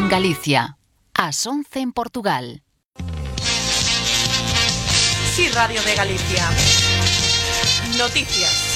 en Galicia, ás 11 en Portugal. Sí, Radio de Galicia. Noticias.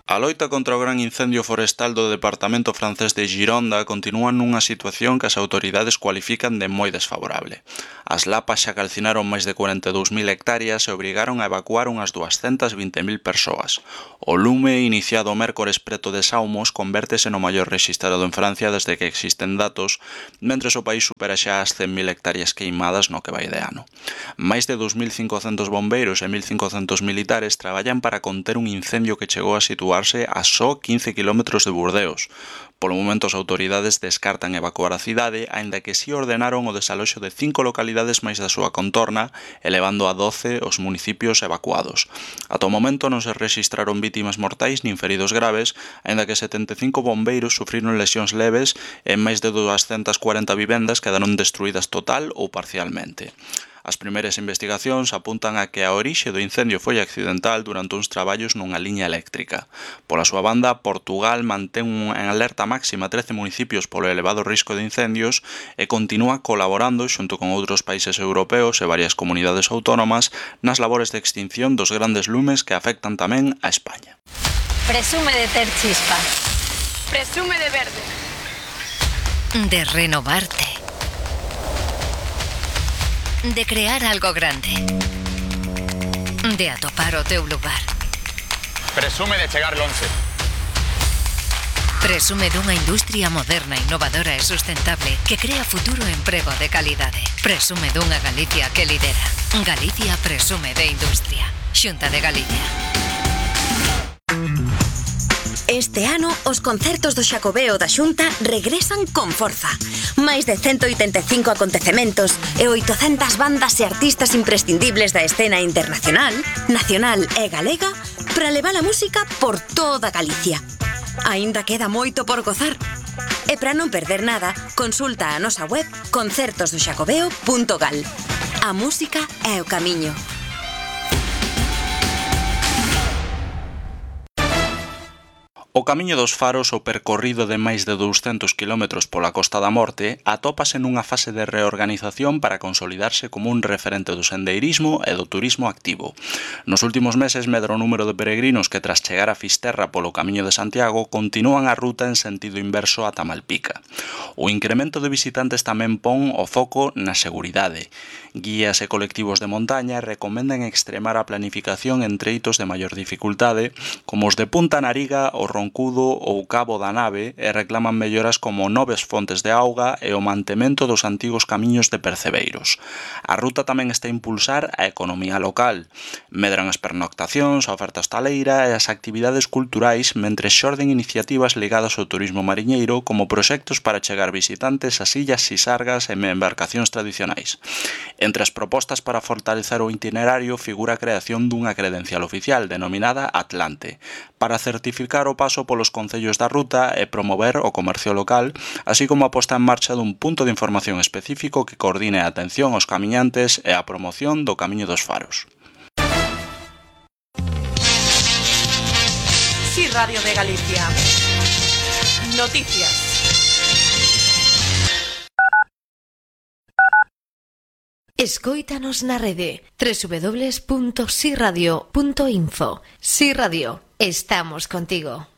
A loita contra o gran incendio forestal do departamento francés de Gironda continúa nunha situación que as autoridades cualifican de moi desfavorable. As lapas xa calcinaron máis de 42.000 hectáreas e obrigaron a evacuar unhas 220.000 persoas. O lume, iniciado o mércores preto de Saumos, convértese no maior rexistrado en Francia desde que existen datos, mentres o país supera xa as 100.000 hectáreas queimadas no que vai de ano. Máis de 2.500 bombeiros e 1.500 militares traballan para conter un incendio que chegou a situarse a só 15 km de Burdeos. Polo momento as autoridades descartan evacuar a cidade, aínda que si ordenaron o desaloxo de 5 localidades máis da súa contorna, elevando a 12 os municipios evacuados. Ata o momento non se rexistraron vítimas mortais nin feridos graves, aínda que 75 bombeiros sufriron lesións leves e máis de 240 vivendas quedaron destruídas total ou parcialmente. As primeiras investigacións apuntan a que a orixe do incendio foi accidental durante uns traballos nunha liña eléctrica. Pola súa banda, Portugal mantén en alerta máxima 13 municipios polo elevado risco de incendios e continúa colaborando xunto con outros países europeos e varias comunidades autónomas nas labores de extinción dos grandes lumes que afectan tamén a España. Presume de ter chispa. Presume de verde. De renovarte. De crear algo grande. De atopar o teu lugar. Presume de chegar lonxe. Presume dunha industria moderna, innovadora e sustentable que crea futuro e emprego de calidade. Presume dunha Galicia que lidera. Galicia presume de industria. Xunta de Galicia. Este ano, os concertos do Xacobeo da Xunta regresan con forza. Máis de 185 acontecementos e 800 bandas e artistas imprescindibles da escena internacional, nacional e galega para levar a música por toda Galicia. Aínda queda moito por gozar. E para non perder nada, consulta a nosa web concertosdoxacobeo.gal. A música é o camiño. O Camiño dos Faros, o percorrido de máis de 200 km pola Costa da Morte, atópase nunha fase de reorganización para consolidarse como un referente do sendeirismo e do turismo activo. Nos últimos meses medra o número de peregrinos que tras chegar a Fisterra polo Camiño de Santiago continúan a ruta en sentido inverso ata Malpica. O incremento de visitantes tamén pon o foco na seguridade. Guías e colectivos de montaña recomendan extremar a planificación en treitos de maior dificultade, como os de Punta Nariga, o Roncudo ou Cabo da Nave, e reclaman melloras como novas fontes de auga e o mantemento dos antigos camiños de percebeiros. A ruta tamén está a impulsar a economía local. Medran as pernoctacións, a oferta hostaleira e as actividades culturais, mentres xorden iniciativas ligadas ao turismo mariñeiro como proxectos para chegar visitantes ás illas Sisargas e embarcacións tradicionais. Entre as propostas para fortalecer o itinerario figura a creación dunha credencial oficial denominada Atlante, para certificar o paso polos concellos da ruta e promover o comercio local, así como a posta en marcha dun punto de información específico que coordine a atención aos camiñantes e a promoción do Camiño dos Faros. Sí, Radio de Galicia. Noticias. Escóitanos na rede www.siradio.info. Si Radio, estamos contigo.